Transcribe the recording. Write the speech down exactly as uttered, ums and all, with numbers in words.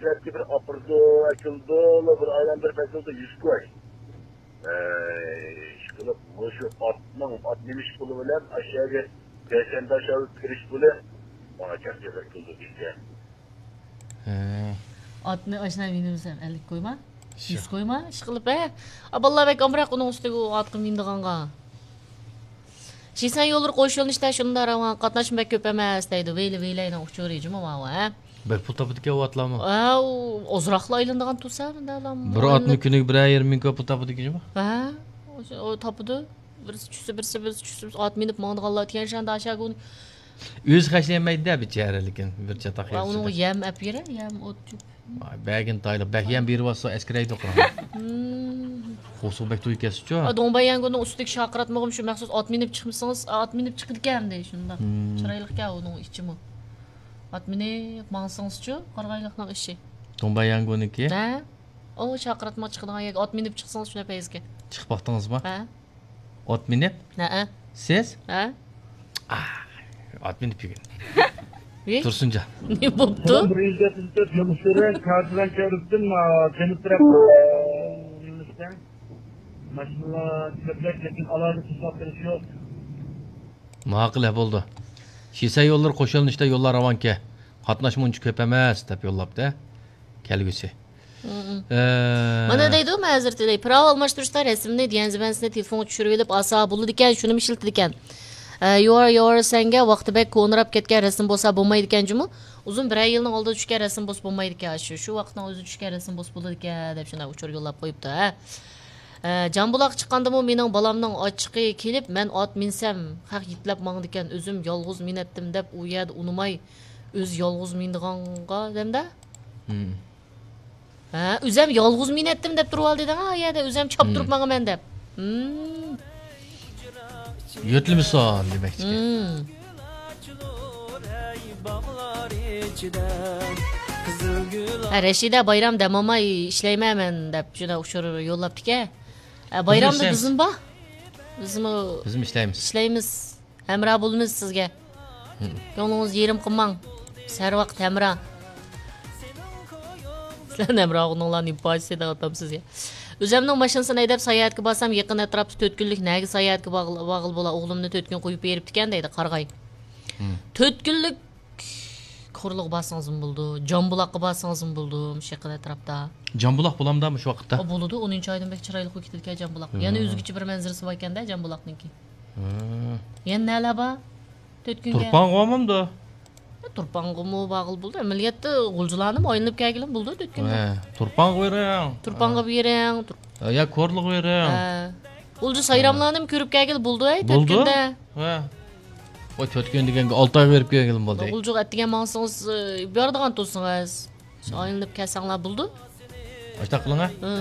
بىر ئاپىرىدۇ، ئەكېلىدۇ، بىر ئايلاندۇرۇپ ئەكېلىدۇ، يۈز كوي. ئەي، ئىشقىلىپ، مۇشۇ ئاتنىڭ، ئات مىنىش پۇلى بىلەن ئاشۇ يەرگە پەيشەنبە ئاشۇ كىرىش پۇلى ماڭا چەك جازا كېلىدۇ دېگەن. ھە. ئاتنى ئاشۇنداق مىنىمسەن، ئەللىك كويما؟ شۇ. يۈز كويما؟ ئىشقىلىپ، ھە؟ ئا، بالىلار بەك ئامراق ئۇنىڭ ئۈستىگە ئۇ ئاتقا مىنىدىغانغا. شىسەن يوللىرى قوش يۆنىلىشتە شۇنداق راۋان، قاتناشما بەك كۆپ ئەمەس دەيدۇ. ۋەيلى، ۋەيلەينىڭ ئۇچۇرى جۇمۇ ماۋۇ، ھە؟ بەك پۇل تاپىدىكەن ئۇ ئاتلارمۇ. ئاۋۇ، ئازراقلا ئايلىنىدىغان تۇرسا، مۇنداقلارمۇ. بىر ئاتنى كۈنىگە بىرەر يېرىم مىڭ كوي پۇل تاپىدىكەن جۇمۇ. ھە؟ ئۇ، ئۇ تاپىدۇ. بىرسى چۈشسە، بىرسى، بىرسى چۈشسە، بىرسى ئات مىنىپ ماڭىدىغانلار تىكەن شۇندا ئاشاگۇنى. ئۆزى خەجلىيەلمەيدۇ-دە، بىچارە، لېكىن بىر چاتاق ۋە يەر ئۇنىڭغا چاتاق. يەم ئەپ بېرە، يەم، ئوت، چۆپ. ۋاي، بەرگىن تايلىق، بەك يەم بېرىۋاتسا ئەسكىرەيدۇ قاراڭ. مم. قورسىقى بەك تويۇپ كەتسىچۇ. ئا، دۇڭبەييەنگۇنىڭ ئۈستىدىكى شاقىراتمىغىمۇ شۇ مەخسۇس ئات مىنىپ چىقمىسىڭىز، ئات مىنىپ چىقىدىكەن دەي شۇنداق. مم. چىرايلىقكەن ئۇنىڭ ئىچىمۇ. ئات مىنىپ ماڭسىڭىزچۇ، قارىغايلىقنىڭ ئىشى. دۇڭبەييەنگۇنىڭكى؟ ھە؟ ئۇ شاقىراتمىغا چىقىدىغان يەرگە ئات مىنىپ چىقسىڭىز شۇنداق پەيزىكەن. چىقىپ باقتىڭىزمۇ؟ ھە. ئوت مىنىپ؟ ھەئە. سىز؟ ھە؟ ئا، ئوت مىنىپ بۈگۈن. ۋىي؟ تۇرسۇنجان. نېمە بوپتۇ؟ بىر يۈز يەتمىش تۆت يول ئۈستىدە كارتىلان كەۋرۈستىن، ئا، جەنۇب تەرەپ، ئا، يۆنىلىشتە. ماشىنىلار كۆپرەك، لېكىن ئالاھىدە توساپ بېرىش يوق. ماقۇل، ھە، بولدى. شىسەن يوللىرى قوش يۆنىلىشتە يوللار راۋانكەن. قاتناشمۇ ئۇنچە كۆپ ئەمەس، دەپ يوللاپتۇ، ھە. كەلگۈسى. مم. ئە، مانا دەيدۇ، مەزۇرەت تىلەي، پىراۋا ئالماشتۇرۇشتا رەسىمنى، ديەنزىبەنسىنى تېلېفونغا چۈشۈرۈۋېلىپ ئالسا بولىدىكەن، شۇنىمۇ ئىشلىتىدىكەن. ئە، يۇۋار، يۇۋار سەنگە ۋاقتى بەك كونىراپ كەتكەن رەسىم بولسا بولمايدىكەن جۇمۇ. ئۇزۇن بىرەر يىلنىڭ ئالدىدا چۈشكەن رەسىم بولسا بولمايدىكەن، شۇ، شۇ ۋاقىتنىڭ ئۆزىدە چۈشكەن رەسىم بولسا بولىدىكەن، دەپ شۇنداق ئۇچۇر يوللاپ قويۇپتۇ، ھە. ئە، جامبۇلاققا چىققاندىمۇ مېنىڭ بالامنىڭ ئاچچىقى كېلىپ، مەن ئات مىنسەم، خەق يېتىلەپ ماڭىدىكەن، ئۆزۈم يالغۇز مىنەتتىم دەپ ئۇ يەردە ئۇنىماي، ئۆزى يالغۇز مىنىدىغانغا دەمدە. مم. ھە، ئۆزەم يالغۇز مىنەتتىم دەپ تۇرۇۋالدى دەڭ، ھە، يەردە ئۆزەم چاپتۇرۇپ ماڭىمەن دەپ. مم. يۆتلىمىسۇن دېمەكچىكەن. مم. ھە، رەشىدە بايرام دەم ئالماي ئىشلەيمەن مەن دەپ شۇنداق ئۇچۇر يوللاپتىكەن. ھە، بايرامدا بىزمۇ بار. بىزمۇ بىزمۇ ئىشلەيمىز. ئىشلەيمىز. ھەمراھ بولىمىز سىزگە. كۆڭلىڭىزنى يېرىم قىلماڭ. بىز ھەر ۋاقىت ھەمراھ. سىلەرنىڭ ھەمراھلىقىڭلارنى پاچ سېتىۋاتام سىزگە. ئۆزەمنىڭ ماشىنىسىنى ھەيدەپ ساياھەتكە بارسام، يېقىن ئەتراپتا تۆت كۈنلۈك نەگە ساياھەتكە باغ-، باغلى بولا، ئوغلۇمنى تۆت كۈن قويۇپ بېرىپتىكەن دەيدۇ، قارىغاي. تۆت كۈنلۈك كورلىغا بارسىڭىزمۇ بولىدۇ، جامبۇلاققا بارسىڭىزمۇ بولىدۇ، مۇشۇ يېقىن ئەتراپتا. جامبۇلاق بولامدا مۇشۇ ۋاقىتتا؟ ئا، بولىدۇ، ئونىنچى ئايدىن بەك چىرايلىق بولۇپ كېتىدىكەن جامبۇلاق. يەنە ئۆزگىچە بىر مەنزىرىسى باركەن-دە جامبۇلاقنىڭكى. يەنە نەلەر بار؟ تۆت كۈنگە. تۇرپانغا بارمامدۇ؟ تۇرپانغىمۇ باغلى بولىدۇ. ئەمەلىيەتتە غۇلجىلارنىمۇ ئايلىنىپ كەلگىلىمۇ بولىدۇ تۆت كۈندە. ھە، تۇرپانغا بېرىڭ. تۇرپانغا بېرىڭ. تۇر- يا كورلىغا بېرىڭ. ھە. غۇلجا سايراملارنىمۇ كۆرۈپ كەلگىلى بولىدۇ، ھەي، تۆت كۈندە. ھە. ۋاي، تۆت كۈن دېگەنگە ئالتە ئايغا بېرىپ كەلگىلىمۇ بولدى. غۇلجىغا ئەتىگەن ماڭسىڭىز، ئى، بارىدىغان تۇرسىڭىز. شۇ ئايلىنىپ كەلسەڭلار بولىدۇ. ئاشۇنداق قىلىڭ، ھە. ھە.